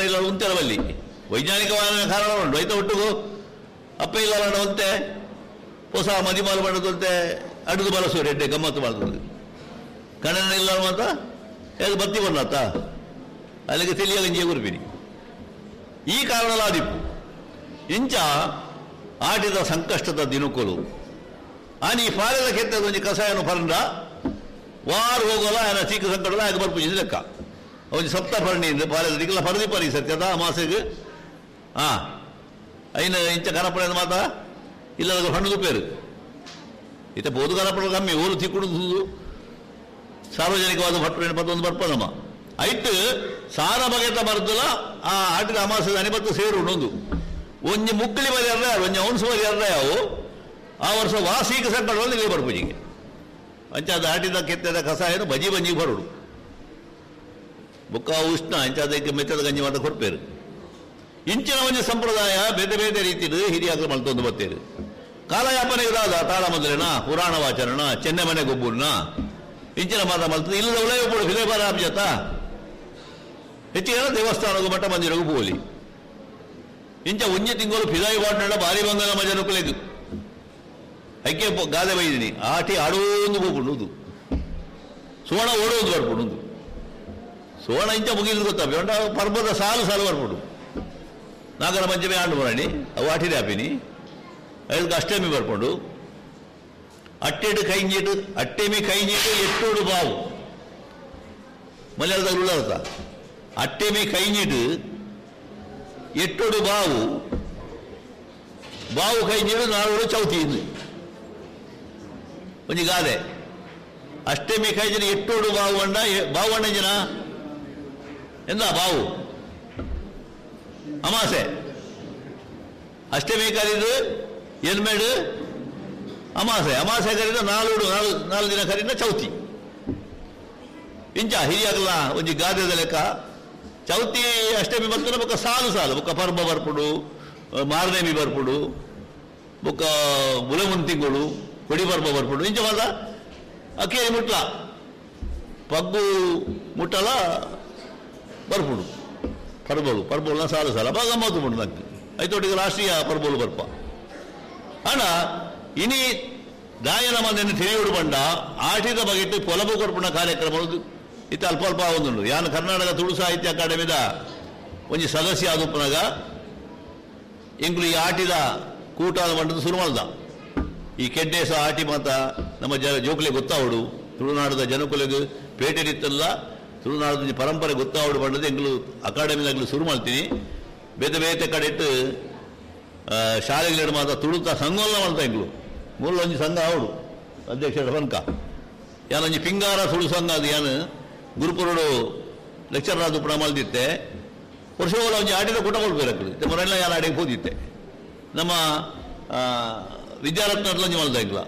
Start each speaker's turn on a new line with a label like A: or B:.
A: ಇಲ್ಲ ಉಂತೆರವಲ್ಲಿ ವೈಜ್ಞಾನಿಕವಾದ ಕಾರಣ ಉಂಟು. ಐತ ಒಟ್ಟುಗು ಅಪ್ಪ ಇಲ್ಲ ಒಂತೆ ಹೊಸ ಮದಿಮಾಲು ಮಾಡದಂತೆ ಅಡುಗೆ ಬಳಸುವ ಎಡ್ಡೆ ಗಮ್ಮತ್ತು ಮಾಡ್ತದೆ. ಕಣ್ಣನ ಇಲ್ಲ ಮಾತ ಹೇಗೆ ಬತ್ತಿ ಬಂದಾತ ಅಲ್ಲಿಗೆ ತಿಳಿಯ ಗಂಜಿಯ ಗುರುಪಿನಿ ಈ ಕಾರಣಲಾದಿಪ್ಪು ಇಂಚ ಆಟಿದ ಸಂಕಷ್ಟದ ದಿನಕುಲು ಆನಿ ಫಾರದ ಕೆತ್ತದ ಒಂಜಿ ಕಷಾಯನು ಪರಂಡ ವಾರು ಹೋಗೋಲ್ಲ ಆಯನ ಚೀಕ ಸಂಕಟದ ಆಗ ಬರ್ಪುಜಿ ಲೆಕ್ಕ ಒಂಜಿ ಸಪ್ತ ಪರಣಿಯಿಂದ ಪಾರದ ದಿಕ್ಕಲ ಪರದಿ ಪರಿ ಸತ್ಯದ ಅಮಾಸೆಗೆ ಹಾಂ ಐನ ಇಂಚ ಕನಪಡೆ ಮಾತ ಇಲ್ಲದ ಹಣ್ಣು ಪೇರು ಇತ್ತ ಬೋದು ಕನಪಡ ಕಮ್ಮಿ ಊರು ತಿಕ್ಕುಡು ಸಾರ್ವಜನಿಕವಾದ ಭಟ್ರು ಪತ್ತೊಂದು ಬರ್ಪದಮ್ಮ ಐಟ್ ಸಾರ ಬಗೆತ ಬರ್ದಲ ಆ ಆಟಿದ ಅಮಾಸದ ಅನಿಬತ್ತು ಸೇರು ಉಂಡೊಂದು ಒಂಜಿ ಮುಕ್ಕಳಿ ಬರಿ ಅರ್ಧ ಒಂಜಿ ಔನ್ಸು ಬರಿ ಅರ್ಧ ಯಾವು ಆ ವರ್ಷ ವಾಸೀಕ ಸಂಕಟದಲ್ಲಿ ಇಲ್ಲಿ ಬರ್ಪುಜಿಗೆ ಅಂಚ ಅದು ಆಟಿದ ಕೆತ್ತದ ಕಷಾಯನು ಬಜಿ ಬಂಜಿ ಬರುಡು ಬುಕ್ಕ ಉಷ್ಣ ಅಂಚ ಅದಕ್ಕೆ ಮೆತ್ತದ ಗಂಜಿ ಮಾತ ಕೊಡ್ಪೇರು. ಇಂಚಿನ ಒಂಜಿ ಸಂಪ್ರದಾಯ ಬೇರೆ ಬೇರೆ ರೀತಿಯಲ್ಲಿ ಹಿರಿಯಾಗಲು ಮಲ್ತೊಂದು ಬರ್ತೇರು. ಕಾಲಯಾಪನೆ ಇರಾದ ತಾಳ ಮೊದಲೇನ ಪುರಾಣ ವಾಚರಣ ಚೆನ್ನೆ ಮನೆ ಗೊಬ್ಬುರ್ನ ಇಂಚಿನ ಮಾತ ಮಲ್ತದೆ ಇಲ್ಲದ ಉಲಯ ಪೋಡು ಫಿಲೇಬಾರ ಆಬ್ಜತ ಹೆಚ್ಚಿಗೆ ದೇವಸ್ಥಾನಕ್ಕೂ ಮಠ ಮಂದಿರಗೂ ಪೋಲಿ ಇಂಚ ಒಂಜಿ ತಿಂಗಳು ಫಿದಾಯಿ ವಾಡ್ನಡ ಭಾರಿ ಬಂಗಲ ಮಜನುಕುಲೆದು ಐಕೆ ಗಾದೆ ಬೈದಿನಿ ಆಟಿ ಆಡೋಂದು ಹೋಗ್ಬಿಡುದು ಸುವರ್ಣ ಓಡೋದು ಬರ್ಬಿಡುದು ಸುವರ್ಣ ಇಂಚ ಮುಗಿದು ಗೊತ್ತಾ ಬೇಡ ಪರ್ವದ ಸಾಲು ಸಾಲು ಬರ್ಬಿಡು ನಾಗರ ಪಂಚಮಿ ಆಂಡು ಬರಣಿ ಅವು ಆಟಿದೆ ಆಪಿನಿ ಅದಕ್ಕೆ ಅಷ್ಟಮಿ ಬರ್ಕೊಂಡು ಅಟ್ಟೆಡು ಕೈಂಜಿಟ್ಟು ಅಟ್ಟೆಮಿ ಕೈಂಜಿಟ್ಟು ಎಟ್ಟೋಡು ಬಾವು ಮಲಯಾಳದ ಉಳ್ಳಾರ್ಥ ಅಟ್ಟೆಮಿ ಕೈಂಜಿಟ್ಟು ಎಟ್ಟೋಡು ಬಾವು ಬಾವು ಕೈಂಜಿಡು ನಾಲ್ವರು ಚೌತಿ ಒಂಜಿ ಗಾದೆ ಅಷ್ಟಮಿ ಕೈಂಜಿನ ಎಟ್ಟೋಡು ಬಾವು ಅಣ್ಣ ಬಾವು ಅಣ್ಣ ಜನ ಎಂದ ಬಾವು ಅಮಾಸೆ ಅಷ್ಟಮಿ ಕರೀದು ಎನ್ಮೇಡು ಅಮಾಸೆ ಅಮಾಸೆ ಕರೀದ ನಾಲ್ಕು ನಾಲ್ಕು ನಾಲ್ಕು ದಿನ ಕರೀದ ಚೌತಿ ಇಂಚ ಹಿರಿಯಾಗಲ್ಲ ಒಂಜಿ ಗಾದೆದ ಲೆಕ್ಕ ಚೌತಿ ಅಷ್ಟಮಿ ಬರ್ತದೆ ಬೊಕ್ಕ ಸಾಲು ಸಾಲು ಬೊಕ್ಕ ಪರ್ಬ ಬರ್ಪುಡು ಮಾರನೇಮಿ ಬರ್ಪುಡು ಬೊಕ್ಕ ಬುಲಮುನ್ ತಿಂಗಳು ಕೊಡಿ ಪರ್ಬ ಬರ್ಪುಡು ಇಂಚ ಮಾತ ಅಕ್ಕೇರಿ ಮುಟ್ಲ ಪಗ್ಗು ಮುಟ್ಟಲ ಬರ್ಪುಡು ಪರ್ಬಲು ಪರ್ಬೋಲ್ನ ಸಾಲು ಸಾಲ ಅಪ್ಪ ಗಮ್ಮತ್ತು ಉಂಟು ನಂಗೆ ಐತೊಟ್ಟಿಗೆ ರಾಷ್ಟ್ರೀಯ ಪರ್ಬೋಲು ಬರ್ಪ ಅಣ್ಣ ಇನಿ ದಾಯನ ಮಂದಿನ ತಿಳಿಯುಡು ಬಂಡ ಆಟಿದ ಬಗೆಟ್ಟು ಪೊಲಬು ಕೊರ್ಪುಣ ಕಾರ್ಯಕ್ರಮ ಇತ್ತ ಅಲ್ಪ ಅಲ್ಪ ಒಂದುಂಡು ಯಾನು ಕರ್ನಾಟಕ ತುಳು ಸಾಹಿತ್ಯ ಅಕಾಡೆಮಿದ ಒಂಜಿ ಸದಸ್ಯ ಆದುಪ್ಪನಾಗ ಎಂಕ್ಲು ಈ ಆಟಿದ ಕೂಟ ಮಂಡದ ಶುರು ಮಾಡ್ದ ಈ ಕೆಡ್ಡೇಸ ಆಟಿ ಮಾತ ನಮ್ಮ ಜ ಜೋಕುಲೆ ಗೊತ್ತಾವಡು ತುಳುನಾಡದ ಜನಕುಲೆಗ್ ಪೇಟೆಡಿತ್ತಲ್ಲ ತುಳುನಾಡದ ಪರಂಪರೆ ಗೊತ್ತಾವಡು ಬಂಡದ ಎಂಗ್ಲು ಅಕಾಡೆಮಿದಾಗಲು ಶುರು ಮಾಡ್ತೀನಿ ಬೇತೆ ಬೇತೆ ಕಡೆ ಇಟ್ಟು ಶಾಲೆಗಳು ಮಾತ್ರ ತುಳುತ ಸಂಘವಲ್ಲ ಮಾಡ್ತಾ ಎಂಗ್ಲು ಮೂಲೊಂಜಿ ಸಂಘ ಅವಡು ಅಧ್ಯಕ್ಷರ ಪನ್ಕ ಯಾನೊಂಜಿ ಪಿಂಗಾರ ತುಳು ಸಂಘ ಅದು ಯಾನು ಗುರುಪುರುಡು ಲೆಕ್ಚರ್ ಆದ ಪುಣ ಮಲ್ದಿತ್ತೆ ವರ್ಷಗಳ ಒಂಜಿ ಆಟಿದ ಕೂಟ ಕೊಡ್ಬೇಕು ಮೊರೆಲ್ಲ ಯಾರು ಆಡಿಗೆ ಹೋದಿತ್ತೆ ನಮ್ಮ ವಿದ್ಯಾರತ್ನ ಒಂಜಿ ಮಲ್ದ ಎಂಗ್ಲ